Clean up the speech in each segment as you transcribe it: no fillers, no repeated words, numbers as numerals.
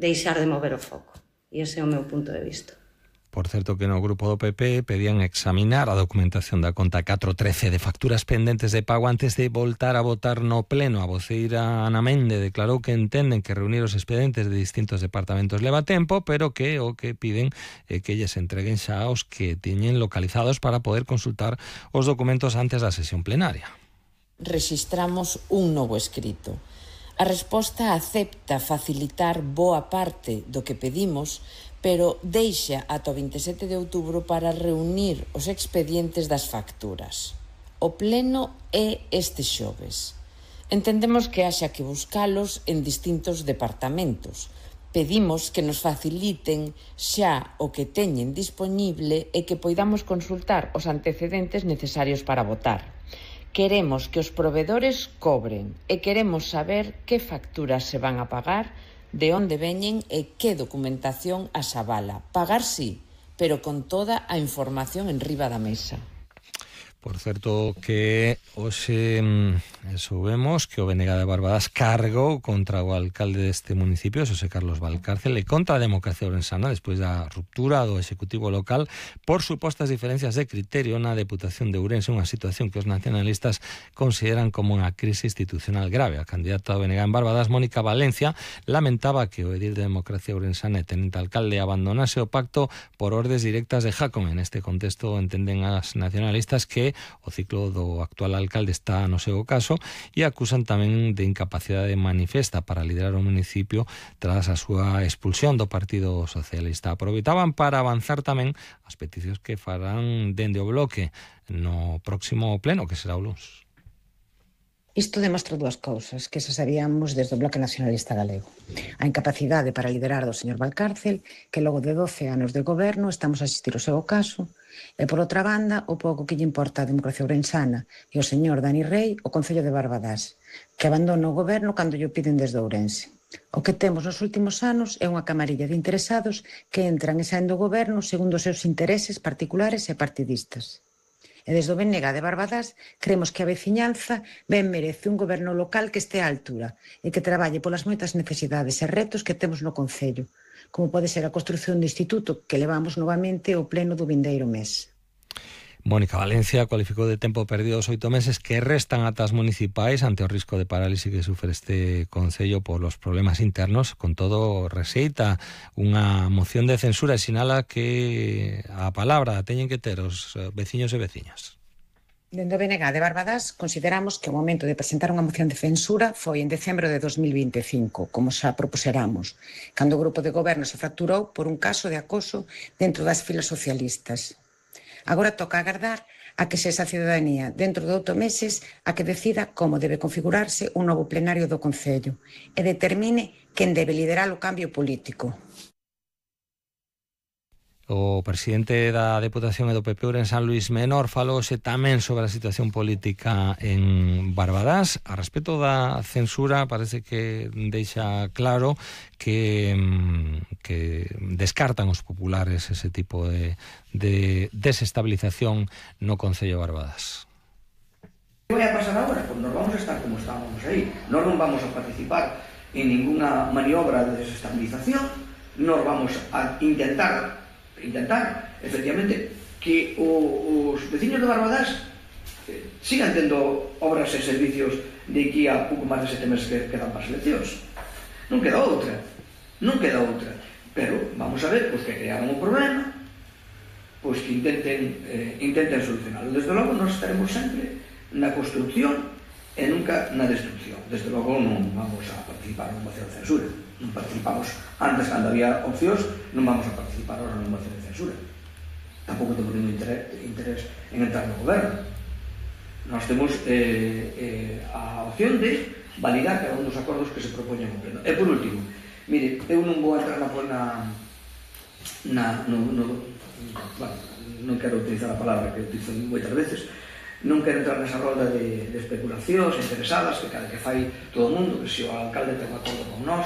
deixar de mover o foco. E ese é o meu punto de vista. Por certo que no grupo do PP pedían examinar a documentación da conta 413 de facturas pendentes de pago antes de voltar a votar no pleno. A voceira Ana Mende declarou que entenden que reunir os expedientes de distintos departamentos leva tempo, pero que o que piden é que lles entreguen xa os que teñen localizados para poder consultar os documentos antes da sesión plenaria. Rexistramos un novo escrito. A resposta acepta facilitar boa parte do que pedimos, pero deixa ata o 27 de outubro para reunir os expedientes das facturas. O pleno é este xoves. Entendemos que haxa que buscalos en distintos departamentos. Pedimos que nos faciliten xa o que teñen dispoñible e que poidamos consultar os antecedentes necesarios para votar. Queremos que os provedores cobren e queremos saber que facturas se van a pagar, de onde veñen e que documentación as avala. Pagar sí, pero con toda a información enriba da mesa. Por certo que hoxe soubemos que o BNG de Barbadas cargou contra o alcalde deste municipio, Xosé Carlos Valcárcel, e contra a democracia ourensana despois da ruptura do executivo local por supostas diferencias de criterio na Deputación de Ourense, unha situación que os nacionalistas consideran como unha crise institucional grave. A candidata do BNG en Barbadas, Mónica Valencia, lamentaba que o edil de democracia ourensana e tenente alcalde abandonase o pacto por ordes directas de Jácome. En este contexto entenden as nacionalistas que o ciclo do actual alcalde está no seu caso e acusan tamén de incapacidade manifesta para liderar o municipio tras a súa expulsión do Partido Socialista. Aproveitaban para avanzar tamén as peticións que farán dende o bloque no próximo pleno, que será o luns. Isto demostra dúas cousas que xa sabíamos desde o Bloque Nacionalista Galego. A incapacidade para liderar do señor Valcárcel, que logo de 12 anos de goberno estamos a asistir ao seu caso, e, por outra banda, o pouco que lle importa a democracia ourensana e o señor Dani Rei, o Concello de Barbadás, que abandona o goberno cando lle piden desde Ourense. O que temos nos últimos anos é unha camarilla de interesados que entran e saen do goberno segundo os seus intereses particulares e partidistas. E desde o BNG de Barbadas creemos que a veciñanza ben merece un goberno local que este á altura e que traballe polas moitas necesidades e retos que temos no Concello, como pode ser a construción do instituto que levamos novamente ao pleno do vindeiro mes. Mónica Valencia cualificou de tempo perdido os 8 meses que restan ata as municipais ante o risco de parálise que sufre este Concello polos problemas internos. Con todo, rexeita unha moción de censura e sinala que a palabra teñen que ter os veciños e veciñas. Dende o BNG de Barbadas consideramos que o momento de presentar unha moción de censura foi en decembro de 2025, como xa propuseramos, cando o grupo de goberno se fracturou por un caso de acoso dentro das filas socialistas. Agora toca agardar a que sexa a cidadanía, dentro de 8 meses, a que decida como debe configurarse un novo plenario do Concello e determine quen debe liderar o cambio político. O presidente da Deputación e do PP Ourensán, Luís Menor, falouse tamén sobre a situación política en Barbadas. A respecto da censura, parece que deixa claro que descartan os populares ese tipo de desestabilización no Concello de Barbadas. ¿Qué va a pasar ahora? Pues nos vamos a estar como estábamos ahí. No nos vamos a participar en ninguna maniobra de desestabilización. Nos vamos a intentar efectivamente que os veciños de Barbadas sigan tendo obras e servicios de aquí a pouco máis de 7 meses que quedan para as eleccións. Non queda outra, pero vamos a ver, pois que crearon un problema, pois que intenten solucionarlo. Desde logo nós estaremos sempre na construcción e nunca na destrucción. Desde logo non vamos a participar en moción de censura. Non participamos antes cando había opcións, non vamos a participar ahora en moción de censura. Tampouco temos ningún interés en entrar no goberno. Nós temos a opción de validar cada un dos acordos que se propoñen no pleno. E por último, mire, eu non vou entrar non quero utilizar a palabra que utilizo moitas veces, non quero entrar nesa roda de especulacións interesadas que cada que fai todo o mundo, que se o alcalde ten un acordo con nós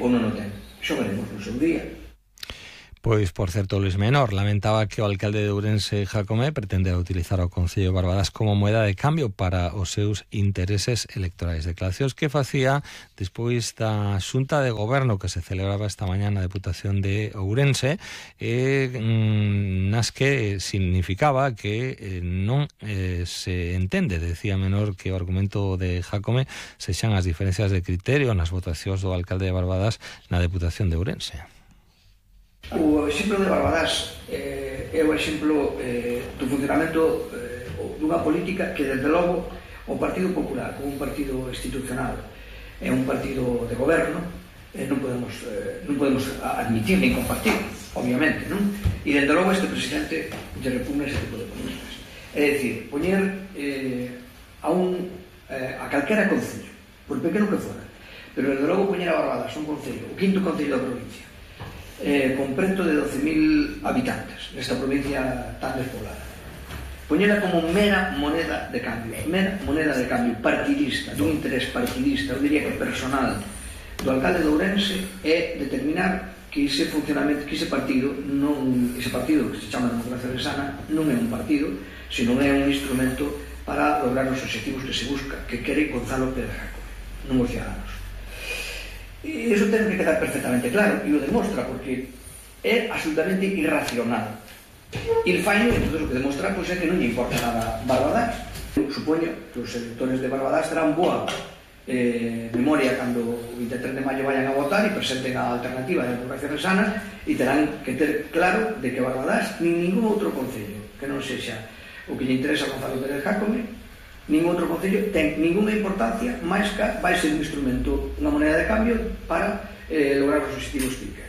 ou non o ten. Xo veremos no seu día. Pois, por certo, Luis Menor lamentaba que o alcalde de Ourense, Jácome, pretendera utilizar o Concello de Barbadas como moeda de cambio para os seus intereses electorais. Declaracións que facía despois da xunta de goberno que se celebraba esta mañá na Deputación de Ourense, nas que significaba que non se entende, decía Menor, que o argumento de Jácome sexan as diferencias de criterio nas votacións do alcalde de Barbadas na Deputación de Ourense. O exemplo de Barbadas é o exemplo do funcionamento dunha política que, desde logo, o Partido Popular, como un partido institucional, é un partido de goberno, non podemos admitir ni compartir, obviamente, non? E, desde logo, este presidente lle repugna ese tipo de políticas. É dicir, poñer a calquera concello, por pequeno que fora, pero, desde logo, poñer a Barbadas un concello, o quinto concello da provincia, con preto de 12.000 habitantes nesta provincia tan despoblada, poñela como mera moneda de cambio partidista, dun interés partidista, eu diría que personal, do alcalde de Ourense, é determinar que ese funcionamento, que ese partido que se chama Democracia Ourensana non é un partido, sino é un instrumento para lograr os objetivos que se busca, que quere Gonzalo Pérez Jácome, non os ciudadanos. E iso ten que quedar perfectamente claro, e o demostra, porque é absolutamente irracional. E el fallo, entonces, o que demostra é que non lle importa nada Barbadas. Eu supoño que os electores de Barbadas terán boa memoria cando o 23 de maio vayan a votar e presenten a alternativa de Democracia Ourensana, e terán que ter claro de que Barbadas, nin ningún outro concello que non sexa o que lle interesa a Gonzalo Pérez Jácome, ningún outro concello ten ninguna importancia máis que vai ser un instrumento, unha moneda de cambio para lograr os objetivos que quere.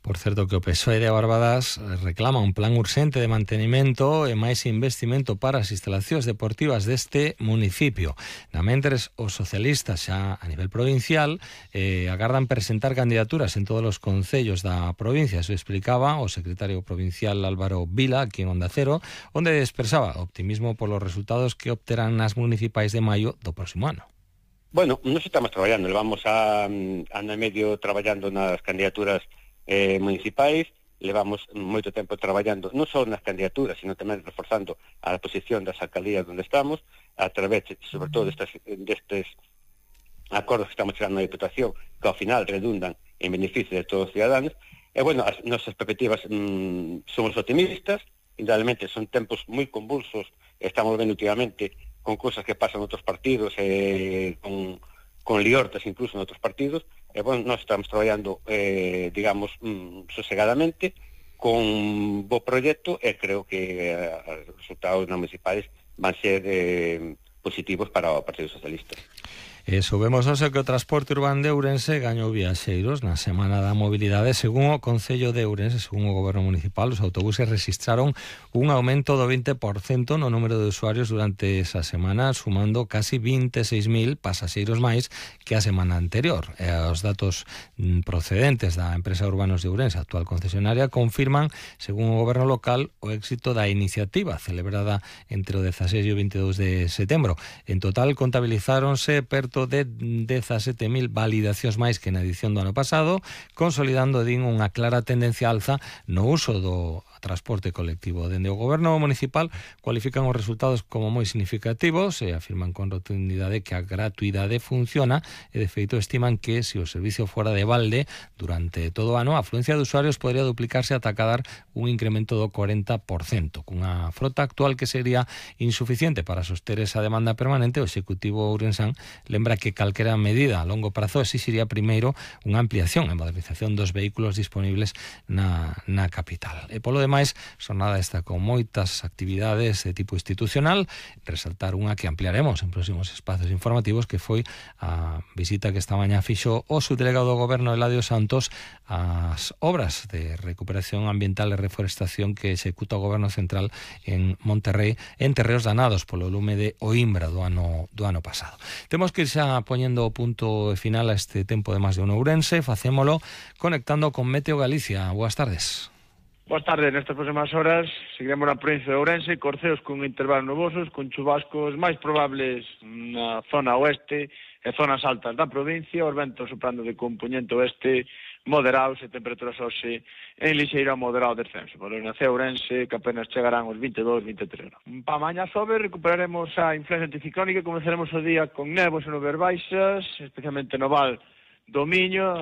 Por certo, que o PSOE de Barbadas reclama un plan urxente de mantenimento e máis investimento para as instalacións deportivas deste municipio. Namentres, os socialistas xa a nivel provincial agardan presentar candidaturas en todos os concellos da provincia. Eso explicaba o secretario provincial Álvaro Vila, aquí en Onda Cero, onde expresaba optimismo polos resultados que obterán nas municipais de maio do próximo ano. Bueno, nos estamos traballando, levamos ano e medio traballando nas candidaturas municipais, levamos moito tempo traballando non só nas candidaturas, sino tamén reforzando a posición das alcaldías onde estamos, a través, sobre todo, destes acordos que estamos chegando na Diputación, que ao final redundan en beneficio de todos os ciudadanos. E, bueno, as nosas perspectivas somos optimistas, indudablemente son tempos moi convulsos, estamos vendo últimamente con cousas que pasan en outros partidos, con liortas incluso en outros partidos, e, bueno, nós estamos traballando, digamos, sosegadamente, con bo proxecto, e creo que os resultados municipais van ser positivos para o Partido Socialista. Soubemos hoxe que o transporte urbano de Ourense gañou viaxeiros na Semana da Mobilidade. Según o Concello de Ourense, según o Goberno Municipal, os autobuses registraron un aumento do 20% no número de usuarios durante esa semana, sumando casi 26.000 pasaxeiros máis que a semana anterior. Os datos procedentes da empresa Urbanos de Ourense, actual concesionaria, confirman, según o Goberno local, o éxito da iniciativa celebrada entre o 16 e o 22 de setembro. En total, contabilizáronse perto de 17.000 validacións máis que na edición do ano pasado, consolidando, din, unha clara tendencia alza no uso do transporte colectivo. Dende o Goberno municipal cualifican os resultados como moi significativos e afirman con rotundidade que a gratuidade funciona, e de feito estiman que se o servicio fora de balde durante todo o ano, a afluencia de usuarios podría duplicarse ata cadar un incremento do 40%. Cunha frota actual que sería insuficiente para soster esa demanda permanente, o Executivo ourensán lembra que calquera medida a longo prazo exixiría primeiro unha ampliación e modernización dos vehículos disponibles na capital. E polo demais, xornada esta con moitas actividades de tipo institucional, resaltar unha que ampliaremos en próximos espazos informativos, que foi a visita que esta mañá fixo o subdelegado do Goberno Eladio Santos ás obras de recuperación ambiental e reforestación que executa o Goberno Central en Monterrey, en terreos danados polo lume de Oimbra do ano pasado. Temos que ir xa poñendo o punto final a este tempo de Más de Uno Ourense. Facémolo conectando con Meteo Galicia. Boas tardes. Boas tardes. Nestas próximas horas seguiremos na provincia de Ourense, corceos con intervalos nubosos, con chubascos máis probables na zona oeste e zonas altas da provincia, os ventos soprando de compoñente oeste moderados e temperaturas hoxe en lixeiro a moderado descenso. Por Ourense, Ourense, que apenas chegarán os 22, 23 graus. Pa mañá sobe, recuperaremos a influencia anticiclónica e comenzaremos o día con néboas e nubes baixas, especialmente no Val do Miño,